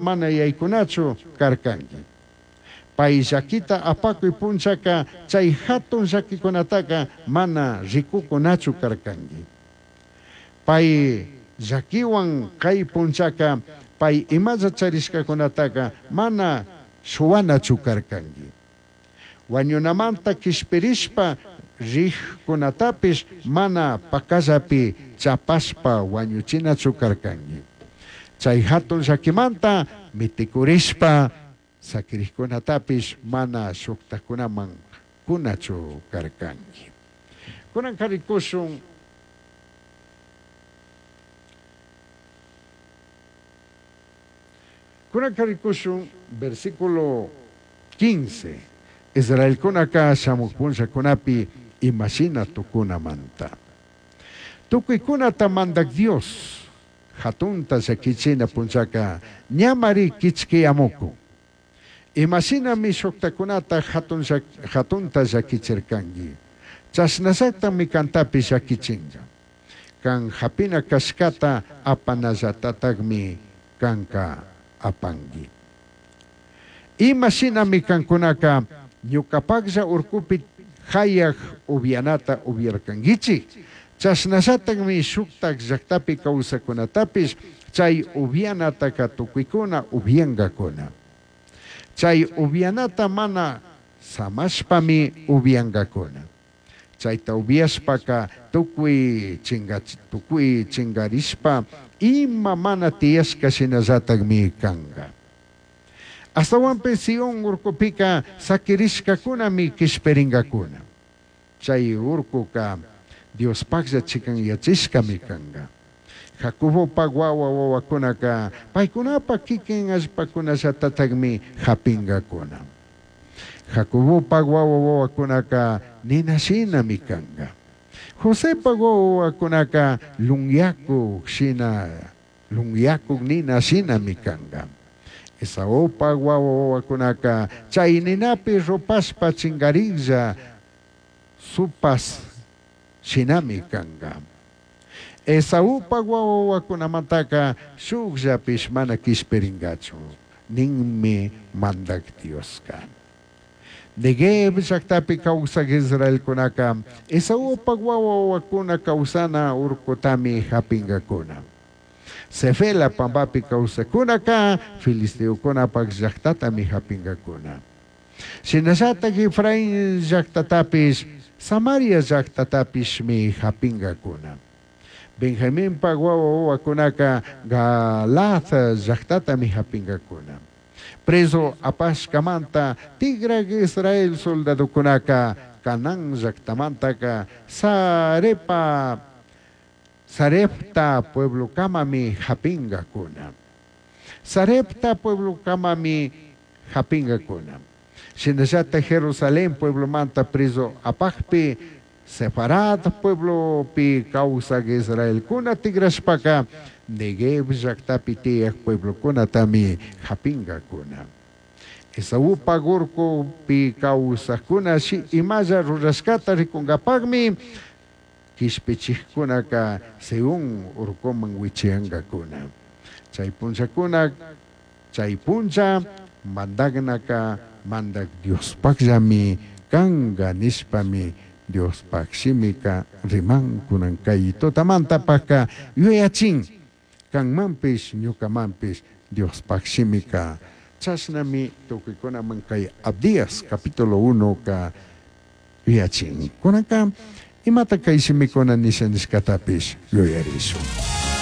Mana yaicunachu carcangui. Pai llaquita apacui punllaca chai jatun llaquicunataca mana ricucunachu carcangui. Pai llaquihuan cai punllaca pai imalla charishcacunataca mana shuhuanachu carcangui. Huañunamanta quishpirishpa rijcunatapish mana pacallapi chapashpa huañuchinachu carcangui. Chai jatun llaquimanta miticurishpa saquirijcunatapish mana shujtajcunaman cunachu carcangui. Cunanca ricushun. Cunanca ricushun versículo 15. Israelcunaca shamuj punllacunapi ima shina tucunamanta. Tucuicunata Mandaj Dios jatunta llaquichina punllaca ñamari quichquiyamucun. Ima shinami shujtacunata jatun jatunta llaquichircangui, chashnallatajmi cantapish llaquichinga. Can japina cashcata apanallatatajmi canca apangui. Ima shinami cancunaca ñucapajlla urcupi jayaj ubyanata ubyarcanguichij, chashnallatajmi shujtaj llajtapi causajcunatapish chai ubyanataca tucuicuna ubyangacuna. Chai ubyanata mana samashpami ubyangacuna. Chaita ubyashpaca tucui tucui chingarishpa ima mana tiyashca shinallatajmi canga. Ashtahuanpish Sión urcupica saquirishcacunami quishpiringacuna. Chai urcuca Diospajlla chicanyachishcami canga. Jacobopaj huahua huahuacunaca paicunapaj quiquin allpacunallatatajmi japingacuna. Jacobopaj huahua huahuacunaca nina shinami canga. Josepaj huahua huahuacunaca lunyacuj shina lunyacuj nina shinami canga. Esaupaj huahua huahuacunaca chai ninapi rupashpa chingarijlla supas shinami canga. Esaupaj huahua huahuacunamantaca shujllapish mana quishpiringachu, ninmi Mandaj Diosca. Neguev llajtapi causaj israelcunaca Esaupaj huahua huahuacuna causana urcutami japingacuna. Sefela pambapi causajcunaca filisteocunapaj llajtatami japingacuna. Shinallataj Efraín llajtatapish, Samaria llajtatapishmi japingacuna. Benjaminpaj huahua huahuacunaca Galaad llajtatami japingacuna. Prezu apashcamanta tigraj Israel soldadocunaca Canaán llajtamantaca Sarepa Sarepta pueblocamami japingacuna. Sarepta pueblocamami japingacuna. Shinallataj Jerusalén pueblomanta prezu apajpi Sefarad pueblopi causaj israelcuna tigrashpaca Neguev llajtapi tiyaj pueblocunatami japingacuna. Esaupaj urcupi causajcuna imalla rurashcata ricungapajmi quishpichijcunaca Sión urcuman huichiyangacuna. Chai punllacuna, chai punlla mandajnaca Mandaj Diospajllami canga nishpami Diospaj shimica riman. Cunan cai tutamantapajca yuyachin canmanpish ñucamanpish Diospaj shimica. Chashnami tucuicunaman cai Abdías capítulo 1ca yuyachin. Cunanca imata cai shimicuna nisha nishcatapish yuyarishun.